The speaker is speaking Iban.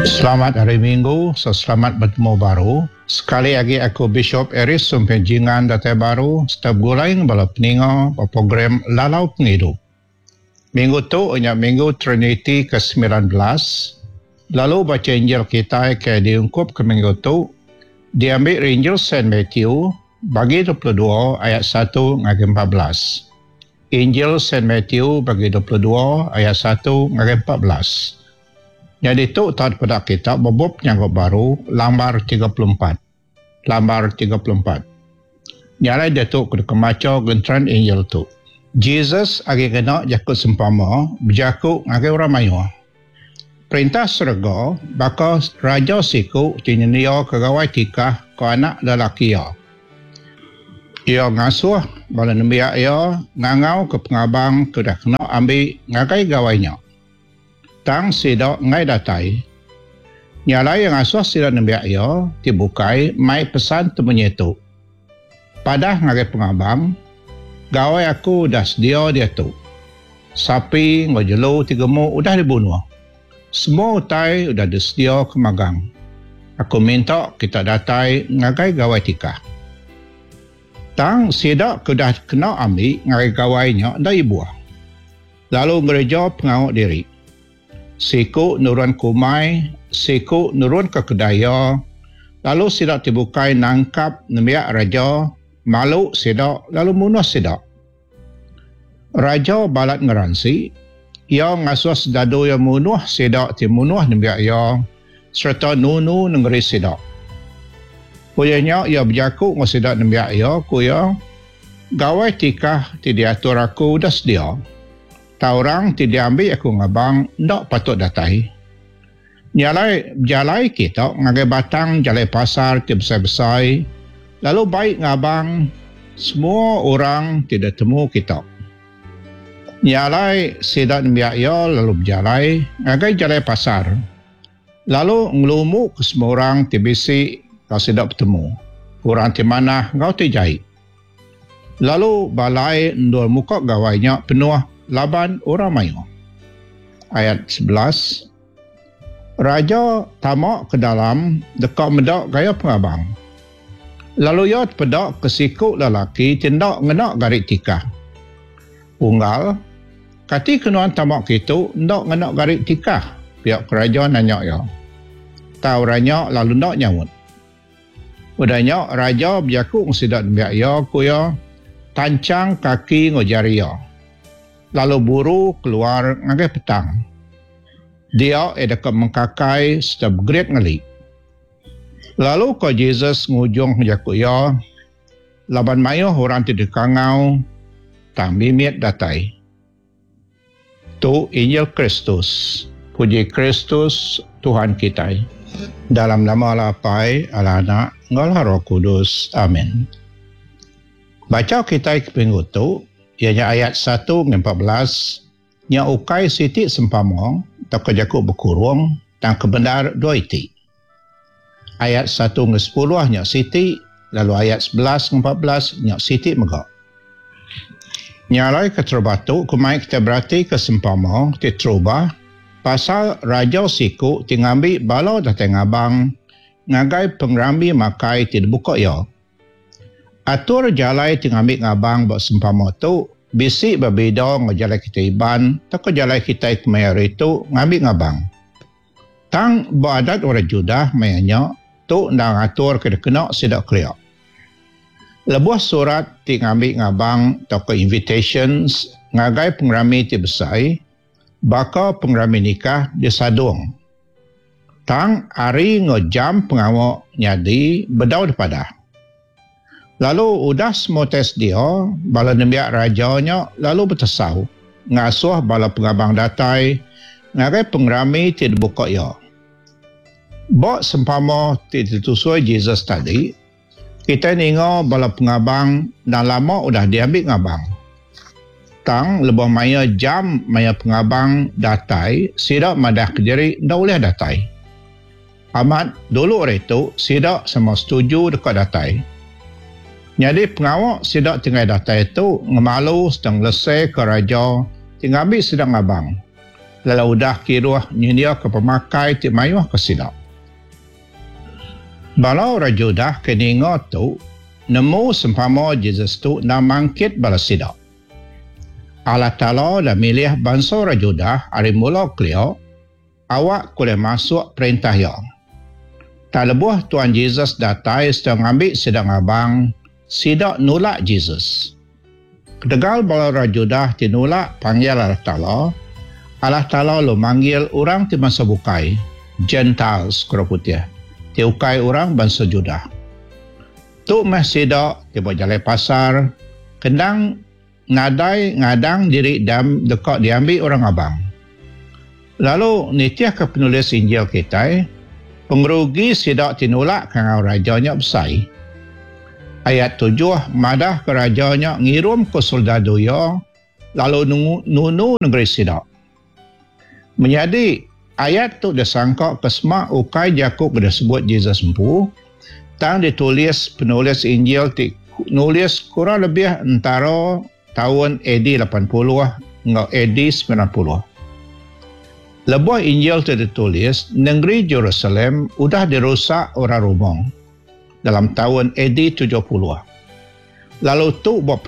Selamat Hari Minggu serta selamat betemu baru. Sekali agi aku Bishop Eric Sumping Jingan datai baru serta begulai enggau bala peninga ba program Lalau Pengidup. Minggu tu nya minggu Triniti ke 19 lalu bacha Injil kitai ke diungkupka minggu tu diambi ari Injil Saint Matthew bagi 22 ayat satu ngagai 14. Injil Saint Matthew bagi 22 ayat satu ngagai 14. Nyadi tu tau dipeda kita ba bup Penyanggup Baru lambar 34. Lambar 34. Nya alai diatu ku deka macha genteran Injil tu. Jesus agi ngena jaku sempama bejaku ngagai orang mayuh. Perintah serega baka raja siku ti nyendiaka gawai tikah ke anak lelaki iya. Iya ngasuh bala nembiak iya ngangauka pengabang ke udah kena ambi ngagai gawai nya. Tang sida enggai datai. Nya alai iya ngasuh sida nembiak iya ti bukai mai pesan temunyi tu, Padah ngagai pengabang, Gawai aku udah sedia diatu. Sapi enggau jelu ti gemuk udah dibunuh. Semua utai udah disediaka magang. Aku minta kita datai ngagai gawai tikah. Tang sida ke udah kena ambi ngagai gawai nya enda ibuh. Lalu ngereja pengawa diri. Siku nurun ke umai, siku nurun ke kedai iya, lalu sida ti bukai nangkap nembiak raja, malu sida lalu munuh sida. Raja balat ngeransi, iya ngasuh sedadu iya munuh sida ti munuh nembiak iya sereta nunu nengeri sida. Udah nya iya bejaku enggau sida nembiak iya, ku iya, Gawai tikah ti diatur aku udah sedia. Tang orang ti diambi aku ngabang enda patut datai. Nya alai bejalai kita ngagai batang jalai pasar ti besai-besai lalu bai ngabang semua orang ti ditemu kita. Nya alai sida nembiak iya lalu bejalai ngagai jalai pasar lalu ngelumuka semua orang ti bisi enggau sida betemu, orang ti manah enggau ti jai. Lalu balai endur muka gawai nya penuh laban orang mayuh. Ayat 11, Raja tama ke dalam deka meda gaya pengabang. Lalu iya tepeda ke siku lelaki ti enda ngena gari tikah. Unggal, kati ke nuan tama kitu enda ngena gari tikah? Pia ku raja nanya iya. Tang orang nya lalu enda nyaut. Udah nya, raja bejaku enggau sida nembiak iya, ku iya, Tanchang kaki enggau jari iya, lalu buru keluar ngagai petang. Dia iya deka mengkakai sereta begerit ngeli. Lalu ko Jesus ngujung jaku iya, Laban mayuh orang ti dikangau, tang mimit datai. Tu Injil Kristus. Puji Kristus, Tuhan kitai. Dalam nama Allah Apai, Allah Anak, enggau Allah Roh Kudus. Amin. Bacha kitai ke minggu tu, iya nya ayat satu ngagai 14, nya ukai siti sempama tauka jaku bekurung tang ke bendar dua iti. Ayat satu ngagai 10 nya siti lalu ayat 11 ngagai 14 nya siti mega. Nya alai keterubah tu ku mai kitai beratika sempama ti terubah pasal raja siku ti ngambi bala datai ngabang ngagai pengerami makai ti dibuka iya. Atur jalai ti ngambi ngabang ba sempama tu bisi bebida enggau jalai kitai Iban tauka jalai kitai kemaya hari tu ngambi ngabang. Tang ba adat orang Judah maya nya, tu endang atur ke dikena sida kelia. Lebuh surat ti ngambi ngabang tauka invitations ngagai pengerami ti besai baka pengerami nikah disadung. Tang hari enggau jam pengawa nyadi bedau dipadah. Lalu udah semua utai sedia, bala nembiak raja nya lalu betesau ngasuh bala pengabang datai ngagai pengerami ti dibuka iya. Ba sempama ti ditusui Jesus tadi, kitai ninga bala pengabang endang lama udah diambi ngabang. Tang lebuh maya jam maya pengabang datai, sida madahka diri enda ulih datai. Amat, dulu ari tu sida sama setuju deka datai. Nyadi pengawa sida ti enggai datai tu ngemalu sereta ngeleseka raja ti ngambi sida ngabang. lalu udah kiruh nyendiaka pemakai ti mayuh ke sida. Bala orang Judah ke ninga tu nemu sempama Jesus tu endang mangkit bala sida. Allah Taala udah milih bansa orang Judah ari mula kelia awak ke ulih masuk Perintah Iya. Tang lebuh Tuan Jesus datai sereta ngambi sida ngabang, sida nulak Jesus. Ketegal bala orang Judah ti nulak panggil Allah Taala, Allah Taala lalu manggil orang ti bansa bukai, Gentiles ku orang putih, ti ukai orang bansa Judah. Tu meh sida ti ba jalai pasar ke endang nadai ngadang diri dam deka diambi orang ngabang. Lalu nitihka penulis Injil kitai, pengerugi sida ti nulak kangau raja nya besai. Ayat tujuh madahka raja nya ngirumka soldadu iya lalu nunu nengeri sida. Menyadi, ayat tu disangka ke sema ukai jaku ke disebut Jesus empu, tang ditulis penulis Injil ti nulis kurang lebih entara taun AD 80 enggau AD 90. Lebuh Injil tu ditulis, nengeri Jerusalem udah dirusak orang Roma dalam taun AD 70. Lalu tu ba.